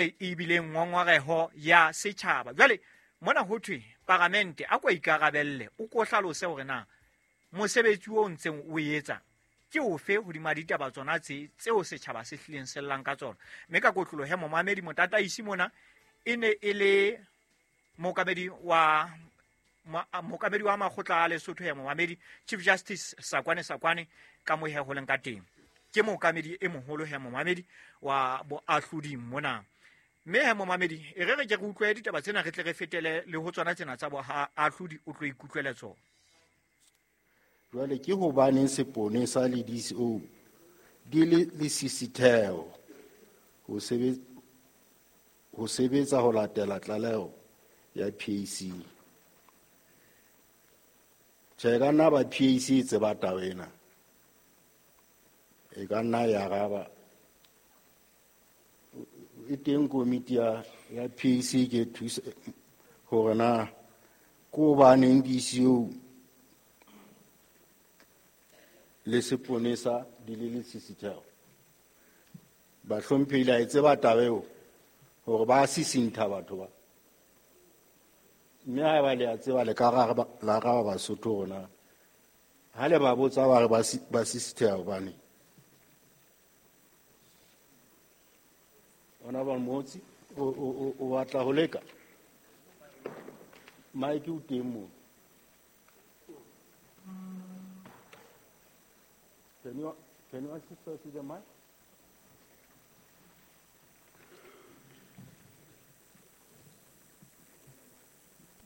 E bile ngongoreho ya setjhaba. Jwale mona ho thwe paramente a ko ikarabelle, o ko hlalose hore na mosebetsi o ntseng o etsa ke ofe hodima ditaba tsona tse tseo setjhaba se hlileng se llang ka tsona. Mme ka kotloloho he momamedi motataisi mona e ne e le mookamedi wa makgotla a Lesotho ya momamedi Chief Justice Sakoane Sakoane ka mo he ho leng ka teng. Ke mookamedi e moholo he momamedi wa boahlodi mona. Mme he momamedi e re re ke re utlwe ditaba tsena re tle re fetele le ho tsona tsena tsa boahlodi o tlo ikutlwele tsona. Jwale ke hobaneng seponesa le DCO di le lesisitheho ho sebetsa ho latela tlaleho ya PAC? Tjhe, ka nna ba PAC e tseba taba ena. E ka nna ya araba. E teng komiti ya PAC ke thusa hore na ke hobaneng DCO le seponesa di le lesisitheho. Bahlomphehi la e tseba taba eo hore ba sisintha batho ba. Mme haeba le a tseba le ka la araba Basotho hore na ha le ba botsa ba re ba sisitheha hobane. Honorable Motsi o batla ho leka. Mike o teng moo. Can you assist us with the mic?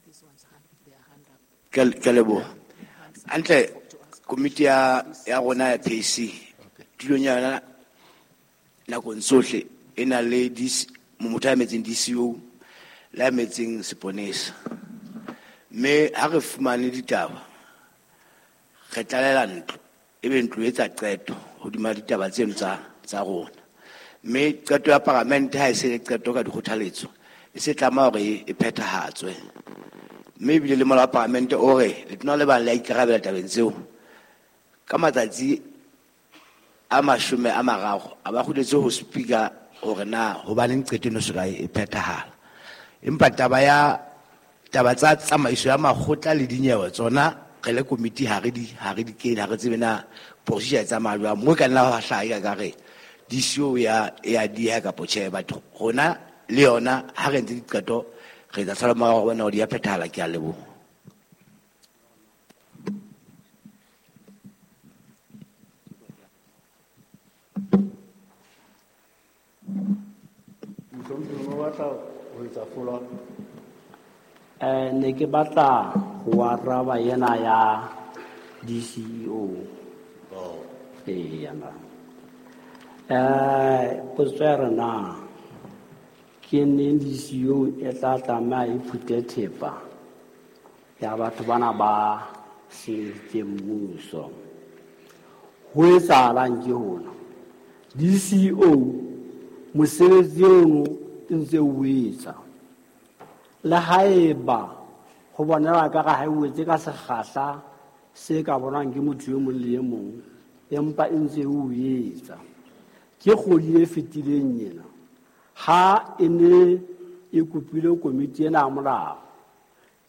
This one's hand, their hand up. Ke leboha. Hantle komiti ya rona ya PAC tulong ya yona nakong tsohle e na le motho a emetseng DCO le a emetseng seponesa. Mme ha re fumane ditaba re tlalela ntlo, ebe ntlo e etsa qeto hodima ditaba tseno tsa rona. Mme qeto ya paramente ha e se le qeto ka dikgothaletso, e se tlameha hore e phethahatswe. Mme ebile le molao wa paramente o re letona le bang le a ikarabela tabeng tseo ka matsatsi a 30 a ba kgutletse ho speaker hore na hobaneng qeto eno soka e phethahala. Empa taba tsa tsamaiso ya makgotla le dinyewe tsona re le komiti ha re di kene, ha re tsebe na procedure e tsamaya jwang. Mo ka nna hwa hlaha ka re DCO ya dieha kapa tjhe, batho rona le yona ha re entse diqeto re tla sala morao ho bona hore di a phethahala. Ke a leboha. Mohlomphehi, o batla ho etsa follow up? Ne ke batla ho araba yena ya DCO. Eya na. Potso ya rena ke neng DCO e tla tlameha e phute thepa ya batho bana ba senyeditseng mmuso. Ho etsahalang ke hona? DCO mosebetsi ono e ntse o etsa. Le haeba ho bonela ka ha o etse ka sekgahla se ka bonwang ke motho e mong le e mong, empa e ntse o etsa. Ke kgwedi e fetileng ena ha e ne e kopile komiti ena ya molao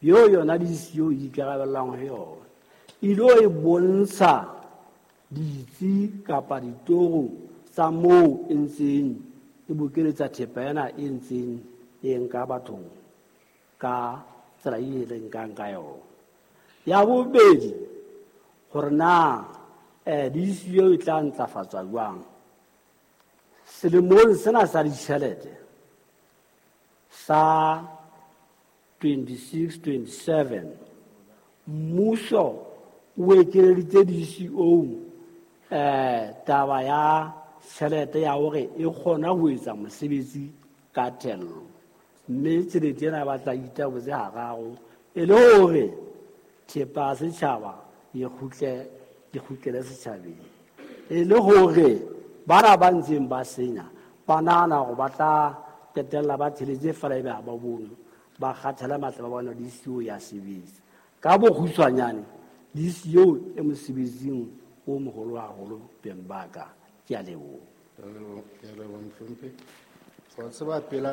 eo yona DCO e ikarabellang ho yona, e lo e bontsha ditsi kapa ditoro tsa moo e ntseng e bokeletsa thepa ena e ntseng e nka bathong ka tsela e re nkang ka yona. Ya bobedi, hore na DCO e tla ntlafatswa jwang selemong sena sa ditjhelete sa 26-27, mmuso o ekeleditse DCO taba ya tjhelete ya hore e kgona ho etsa mosebetsi ka thello. Mme tjhelete ena ba tla itabotse hararo e le hore thepa ya setjhaba e kgutlele setjhabeng, e le hore bana ba ntseng ba senya ba nahana hore ba tla qetella ba theletse feela ebe ha ba bone, ba kgathala matla ba bona DCO ya sebetsa. Ka bokgutshwanyane DCO e mosebetsing o moholo haholo beng ba ka. Ke a leboha. Ke a leboha mohlomphehi. Wa tseba pela